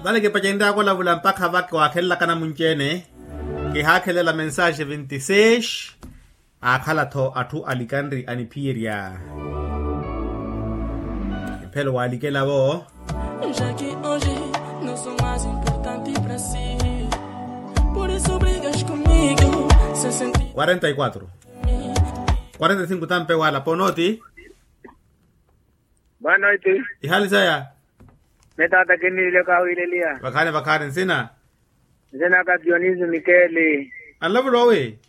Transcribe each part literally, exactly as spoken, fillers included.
Vale kipacenryaka olavula mpakha vaka waakhelelaka namunci-ene. Kihaakhelela mensaxe vinti seis. Aakhala-tho atthu alikanri aniphiyerya. Mphelo waalikela-vo. Já que hoje não sou mais importante pra si, por isso brigas comigo sem sentido. Quarenta e quatro. Quarenta e cinco tampe wala ponoti. Boa noite. Ihali saya? Mitaata kiniile kawiileliya. Vakhaani vakhaani nsina? Nsina ka dionisio mikeli. Anlavula owi?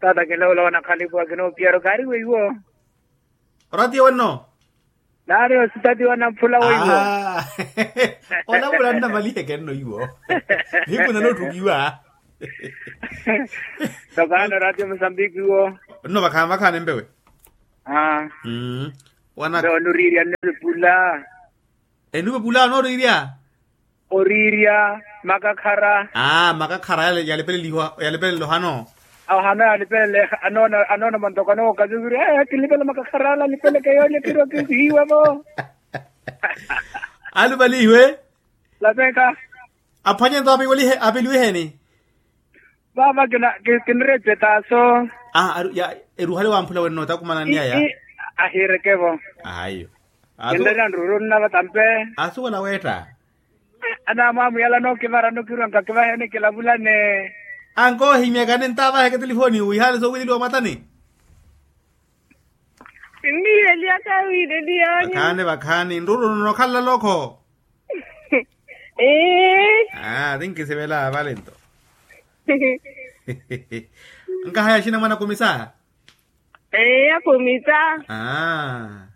Taata kinlavula wanakhalipuwa kinoopiyaro kaari weiwo. Oratiyo wenno? Naari ositatiwa namphula weiwo. Onavula nnamaliheke nno iwo. Hiku nanoottukiwa. Tokaano ratio musambiki wo. Nno vakhaani vakhaani mpewe. Aa. Mpewe onoriirya nno vipula. Enupepula onoriirya? Oriirya makakhara. Aa makakhara yalipeleliwa yalipelele ohano. Ohano yalipelele anoona anoona mantoko anookazi wiri ee kilipela makakhara ala alipeleke yoole kiro kihiiwa vo. Alupalihiwe. Lapeka. Aphwanye nto apeliwiheni? Vaava kinrettetaso. Eruhale wamphula wenno takumananiyaya. Ahiirekevo. Ayo. Kinrela nruru nnava tampe. Asuwela weetta. Anamwamuyala nookivara nokirwa nkakivaheni kilavulane. Ankoohimyaka nintavaheke telefoni wihaale soowileliwa mwatani. Nnihelya kawiileliyanyu. Vakhaani vakhaani nruru nno okhala lokho. Ee. Aa tinkisivela vale nto. Nkahaya axina mwana akumisa? Ee akumisa. Aa.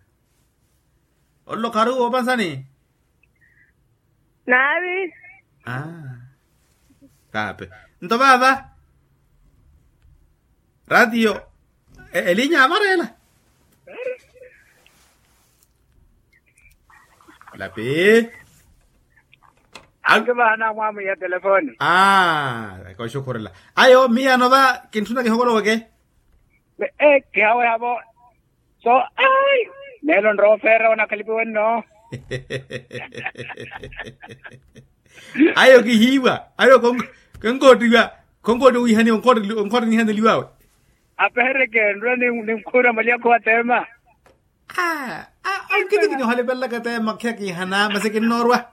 Ollo kharuwo opansani? Naavi. Aa. Kaape. Nto vaava? Ratio elinya amarela. Lapi. Anke vaana mwamwiya telefoni. Aa koxukhurela. Ayo miya anova kintthuna kihokoloweke. Ee kihaweha vo. So ai. Nelo nroofeera wanakhalipiwe nno. Ayo kihiiwa ayo konkoottiwa. Konkoottiwa wihaniwa onkoottinihani eliwawe. Apehereke nrula ninkhuura malyakho wa teema. Aa. Onkitikini ohalipelelaka teema khiya kiihana masi kinnoorwa.